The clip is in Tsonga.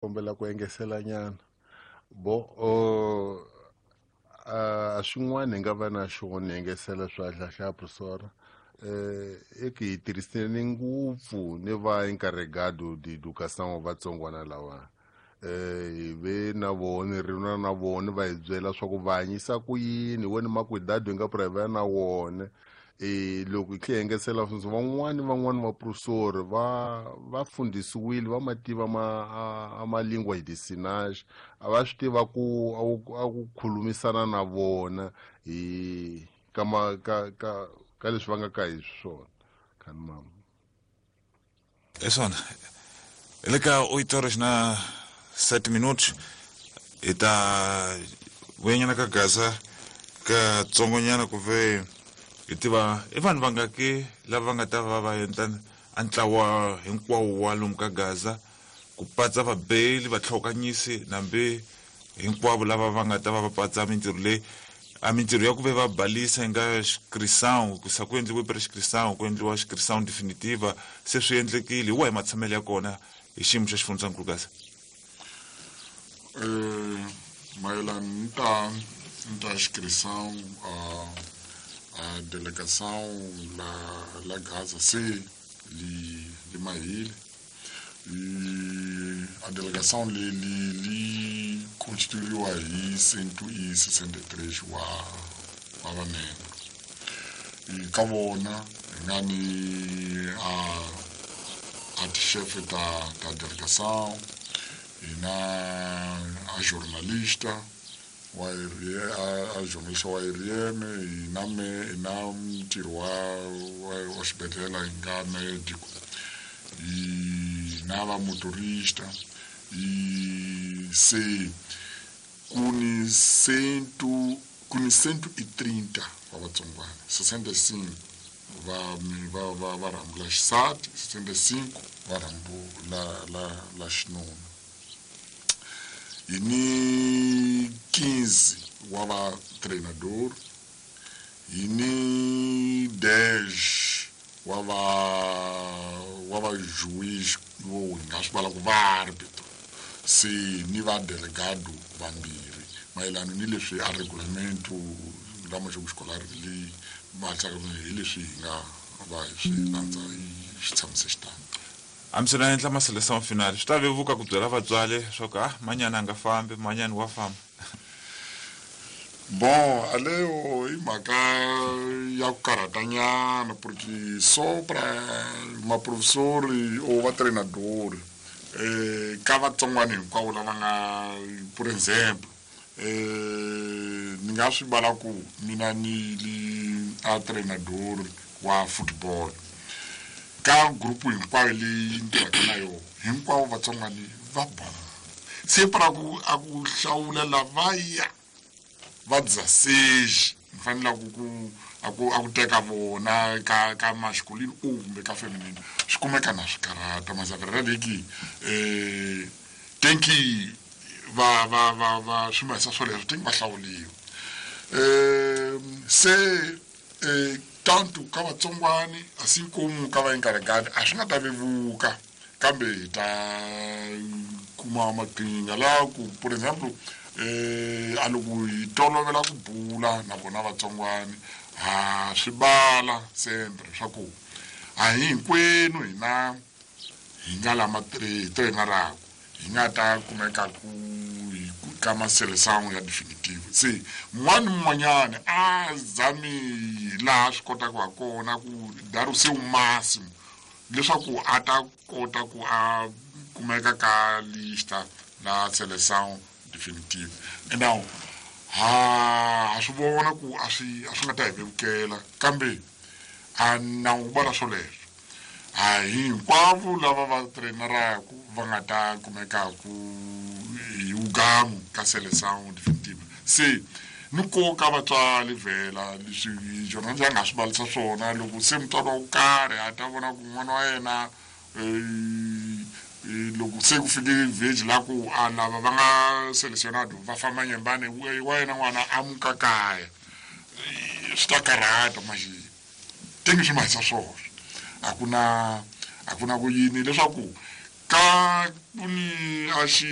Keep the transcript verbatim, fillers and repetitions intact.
Kombela ku engesela nyana bo o a swin'wana hi nga va na xona hi engesela swa hlahla professor eh e ki hi tirhisene ngopfu ni va encarregado de educação vatsongwana lawa eh hi ve na vona ri na na vona va hi byela swa ku va hanyisa ku yini wena makwidado hi nga private na wona e loko hi tlhe engesela van'wani van'wani vaprofessori va va fundisiwile va mativa ma a ma língua de sinais a va swi tiva ku a ku khulumisana na vona hi ka ma ka ka ka leswi va nga ka hi swona khani mama é swona hi le ka oito horas na sete minutos hi ta vuyanyana ka Gaza ka tsongonyana ku ve hi tiva i vanhu vangaki lava va nga ta va va endla a ntlawa hinkwawo wa lomu ka Gaza ku patsa vabeli vatlhokanyisi nambi hinkwavo lava va nga ta va va patsa mintirho leyi a mintirho ya ku ve va balisa yi nga inscrição ku sa ku endliwe prescrição ku endliwa inscrição definitiva se swi endlekile hi wahi matshamelo ya kona hi xiyimo xa xifundzankulu Gaza Eh, mayelana ni ta ni ta inscrição a a delegação la la Gaza se li li mahile e a delegação li li li constituíwa hi cento e sessenta e três wa wa vamembro e ka vona hi nga ni a a tixefe ta ta delegação hi na a jornalista wa a, a jornalista wa R M hi na me hi na mutirhi wa wa, wa xibedhlele hi nga médico hi na va motorista e se ku ni cento ku ni cento e trinta wa vatsongwana sessenta e cinco va va va va rhambu la xisati sessenta e cinco va rhambu la la la xinuna hi ni quinze wa va treinador hi ni dez wa va wa va juiz vo hi nga swi vala ku va árbitro se ni va delegado vambirhi mayelana ni leswi a regulamento la maxoku escolar leyi va hi leswi hi nga va hi swi landza hi swi tshamise xitano. Hambi na endla ma seleção final swi ta vevuka ku byela vatswari swa ku ah manyana a nga fambi manyani wa famba. Bon, aleyo i mhaka ya ku karhatanyana porque só pra maprofessori ou va treinador eh ka vatsongwana hinkwavo lava nga por exemplo eh ni nga swi vala ku mina ni li a treinador wa football ka grupu hinkwayo leyi ni tirhaka na yona hinkwavo vatsongwani va bon se para ku a ku hlawula lavaya va dezesseis ni fanele ku ku a ku a ku teka vona ka ka masculino ou kumbe ka feminino swi kumeka na swi karhata mas a verdade é que eh tem que va va va va swi mahisa swoleswo tem que va hlawuliwa eh se eh tanto ka vatsongwani assim como ka va encarregado a swi nga ta vevuka kambe hi ta kuma maqhinga laha ku por exemple eh a loko hi tolovela ku bula na vona vatsongwani ha swi vala sempre swa ku a hi hinkwenu hina hi nga lama hi traineraku hi nga ta kumeka ku hi ka maseleção ya definitive se mun'wana ni mun'wanyana a zami laha swi kotaka ha kona ku dar o seu máximo leswaku a ta kota ku a kumeka ka lista la seleção definitive. Now ha ha swi vona ku a swi a swi nga ta hi vevukela kambe a nawu vala swoleswo a hi hinkwavo lava va traineraku va nga ta kumekaku hi wugamu ka seleção definitive se ni nkoka vatswari vhela leswi jornal ya nga swi valisa swona loko se mutswari wa ku karhi a ta vona ku n'wana wa yena loko se ku fike village la ku a lava va nga selecionado va famba nyembane wa yena n'wana a muka kaya swi ta karhata manje tengi swi mahisa swona a ku na a ku na ku yini leswaku Ka ku ni a xi